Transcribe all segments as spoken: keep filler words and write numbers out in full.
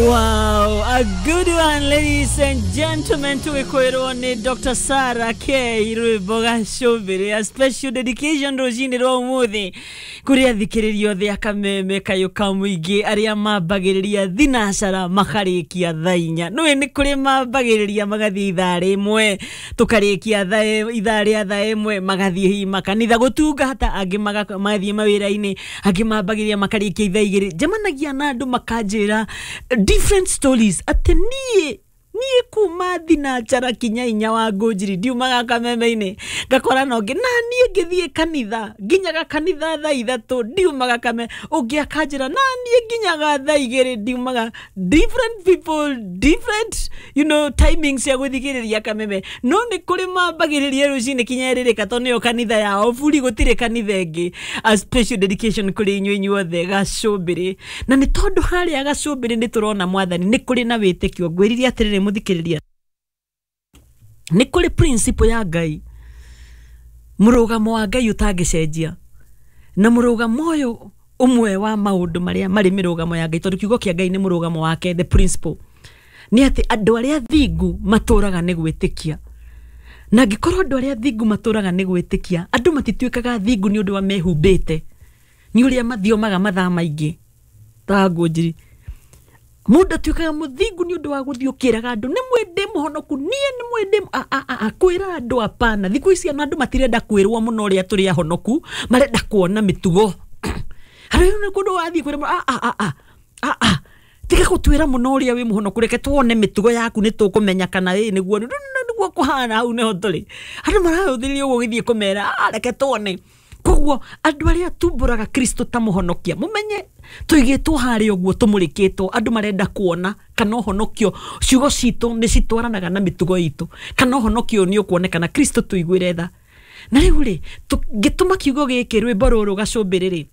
Wow, a good one, ladies and gentlemen. Tũgĩkwĩrwo nĩ Doctor Sarah K rwĩmbo gacũmbĩrĩ, a special dedication rũcinĩ rwa ũmũthĩ kũrĩ athikĩrĩria othe a Kameme kayũ ka mũingĩ arĩa mambagĩrĩria thinacara makarĩkia thaa inya. Nĩũĩ nĩ kũrĩ mambagĩrĩria magathiĩ ithaa rĩmwe, tũkarĩkia thaa ithaa rĩa thaa ĩmwe, magathiĩ hihi makanitha gũtungata, angĩ maga- magathiĩ mawĩra-inĩ, angĩ mambagĩrĩria makarĩkia ithaa igĩrĩ. Njemanagia na andũ makanjĩra different stories atĩ niĩ niĩ kuma thinacara kinya inya wa ngũnjiri ndiumaga Kameme-inĩ, ngakora na ũngĩ na niĩ ngĩthiĩ kanitha nginyaga kanitha thaa ithatũ ndiumaga kame, ũngĩ akanjĩra na niĩ nginyaga thaa igĩrĩ ndiumaga. Different people, different you know timings cia gũthikĩrĩria Kameme, no nĩ kũrĩ mambagĩrĩria rũcinĩ kinya ĩrĩrĩka tondũ nĩyo kanitha yao buri, gũtirĩ kanitha ĩngĩ. A special dedication kũrĩ inyuĩ inyuothe gacũmbĩrĩ, na nĩ tondũ harĩa gacũmbĩrĩ nĩ tũrona mwathani nĩ kũrĩ na wĩtĩkio. Ngwĩrire atĩrĩrĩ mũthikĩrĩria, nĩ kũrĩ principle ya Ngai, mũrũgamo wa Ngai ũtangĩcenjia, na mũrũgamo ũyũ ũmwe wa maũndũ marĩa marĩ mĩrũgamo ya Ngai, tondũ kiugo kĩa Ngai nĩ mũrũgamo wake, the principle nĩ atĩ andũ arĩa thingu matũraga nĩ gwĩtĩkia. Na angĩkorwo andũ arĩa thingu matũraga nĩ gwĩtĩkia, andũ matituĩkaga thingu nĩ ũndũ wa mehumbĩte, nĩ ũrĩa mathiomaga mathaa maingĩ ta ngũnjiri. Mũndũ atuĩkaga mũthingu nĩ ũndũ wa gũthiĩ ũkĩraga andũ nĩ mwĩndĩ mũhonoku, niĩ nĩ mwĩndĩ kwĩra andũ hapana. Thikũ ici ona andũ matirenda kwĩrwo mũno ũrĩa tũrĩ ahonoku, marenda kuona mĩtugo. Harĩ nĩ kũndũ wathiĩ kwĩra a a a a a tiga gũtwĩra mũno ũrĩa wĩ mũhonoku, reke tuone mĩtugo yaku nĩ tũkũmenya kana ĩ nĩguo nĩguo kũhana. Hau nĩho tũrĩ, andũ marahũthĩrĩria ũguo ũgĩthiĩ kũmera, "Ah, reke tuone." Koguo andũ arĩa tumbũraga Kristo ta mũhonokia, mũmenye tũigĩtwo harĩa ũguo tũmũrĩkĩtwo, andũ marenda kuona kana ũhonokio, ciugo citũ nĩ citwaranaga na mĩtugo itũ, kana ũhonokio nĩ ũkuonekana. Kristo tũiguĩre tha. Na rĩu rĩ, ngĩtũma kiugo gĩkĩ, rwĩmbo rũrũ gacũmbĩrĩ rĩ,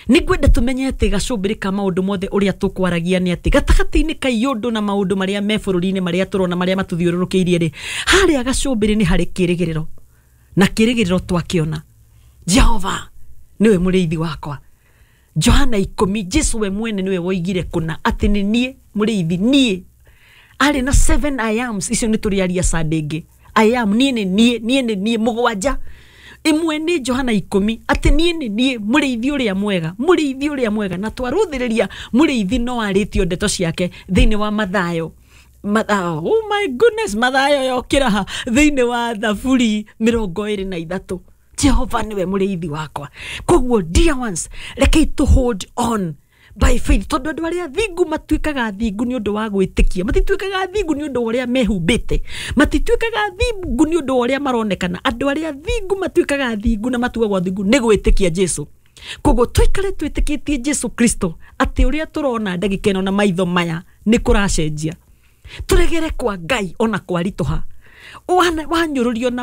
nĩ ngwenda tũmenye atĩ gacũmbĩrĩ ka maũndũ mothe ũrĩa tũkwaragia nĩ atĩ gatagatĩ-inĩ ka iũndũ na maũndũ marĩa me bũrũri-inĩ, marĩa tũrona, marĩa matũthiũrũrũkĩirie rĩ, harĩa gacũmbĩrĩ nĩ harĩ kĩrĩgĩrĩro, na kĩrĩgĩrĩro twakĩona Jehova nĩwe mũrĩithi wakwa. Johana ikũmi, Jesu we mwene nĩwe woigire kũna atĩ nĩ niĩ mũrĩithi, niĩ arĩ na seven I ams. Icio nĩ tũrĩaria Sunday ĩngĩ. I am, niĩ nĩ niĩ, niĩ nĩ niĩ mũgwanja, ĩmwe nĩ Johana ikũmi, atĩ niĩ nĩ niĩ mũrĩithi ũrĩa mwega, mũrĩithi ũrĩa mwega. Na twarũthĩrĩria mũrĩithi no arĩtio ndeto ciake thĩinĩ wa Mathayo. Mathayo, oh my goodness, Mathayo yokĩra ha thĩinĩ wa Thaburi mĩrongo ĩrĩ na ithatũ, Jehova nĩwe mũrĩithi wakwa. Koguo dear ones, rekei to hold on by faith, tondũ andũ arĩa thingu matuĩkaga thingu nĩ ũndũ wa gwĩtĩkia, matituĩkaga thingu nĩ ũndũ wa ũrĩa mehumbĩte, matituĩkaga thingu nĩ ũndũ wa ũrĩa maronekana. Andũ arĩa thingu matuĩkaga thingu na matuagwo thingu nĩ gwĩtĩkia Jesu. Koguo tũikare twĩtĩkĩtie Jesu Kristo atĩ ũrĩa tũrona ndagĩka ĩno na maitho maya nĩ kũracenjia. Tũregere kwa Ngai ona kwaritũha, wanyũrũrio na